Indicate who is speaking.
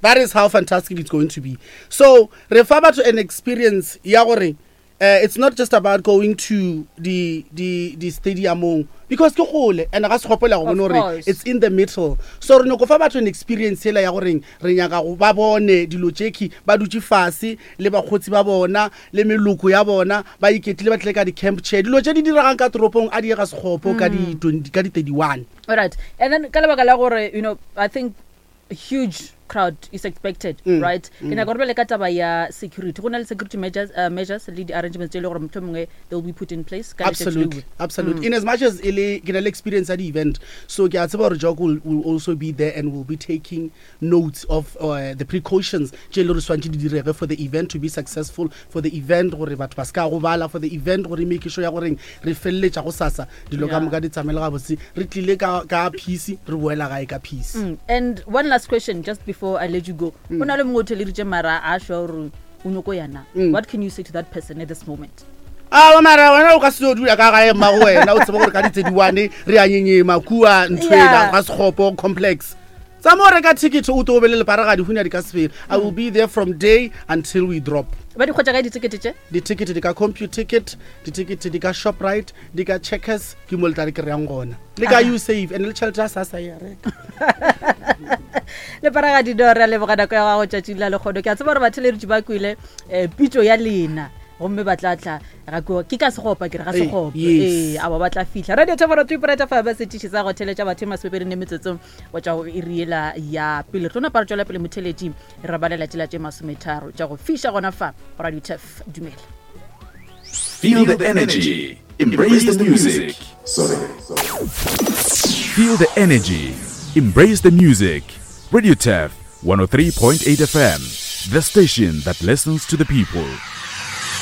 Speaker 1: That is how fantastic it's going to be. So re fa batho an experience ya gore uh, it's not just about going to the the the stadiumong because ke gole and ga se gopola go bone gore it's in the middle. So re nyoko fa batho an experience yela ya goreng re nyaka go ba bone dilo tšekhi ba dutše fase le bakgotsi ba bona le meloko ya bona ba iketlile ba tlile ka di-camp chair dilo tše di diregang ka toropong a di ye ga sekgopo ka di 20 ka di 31.
Speaker 2: Alright, and then ka lebaka la gore you know I think huge crowd is expected mm. right ke nyaka gore bjale ka taba ya security go na le security measures, uh, measures le di-arrangements tse e le gore motlho mongwe they will be put in place
Speaker 1: ka absolutely absolutely mm. in as much as e le ke na le experience ya di-event so ke a tseba gore jok will, will also be there and will be taking notes of uh, the precautions tše e le gore swantše di direge for the event to be successful for the event gore batho ba se ka gobala for the event gore make sure ya goreng re feleletša go sasa dilo ka moka di tsamaele gabotse re tlile ka, ka peace re boela gae ka peace
Speaker 2: mm. and one last question just before I let you go mm. o na le mongwe o theleditše mara a šwa gore o nyoko yana mm. what can you say to that person at this moment
Speaker 1: awa mara wena o ka se yo dula ka gae mmago wena o tseba gore ka ditse-diwane re a nyenyema kua ntho ela ga sekgopo complex tsa mo reka ticket o to o be le leparagadi hunya di ka se fele. I will be there from day until we drop.
Speaker 2: Ba di hwetša kae ditikete tše?
Speaker 1: Ditikete di ka Computicket, ditikete di ka Shoprite, di ka Checkers, ke mo le tla di kry-ang gona. Le ka Usave and le tšhelete ya SASSA e a reka.
Speaker 2: Leparagadi no re a leboga nako ya gago tšatšing la lekgono. Ke a tseba gore batheeleditši ba kwele um pitšo ya lena gomme ba tla tla ga ke ke ka segopa ke re ga segopa ee aba ba tla fihla radio thoboro three point five setiši sa go theletša batho e masomepedi ne metsotso go tšwa go iri yela ya pele re tlo napa re tšwela pele motheletši re balela tšela tše masometharo tša go fiša gona fa go radio tef dumela.
Speaker 3: Feel the energy. Embrace the music. Sorry. Feel the energy. Embrace the music. Radio Tef 103.8 FM, the station that listens to the people.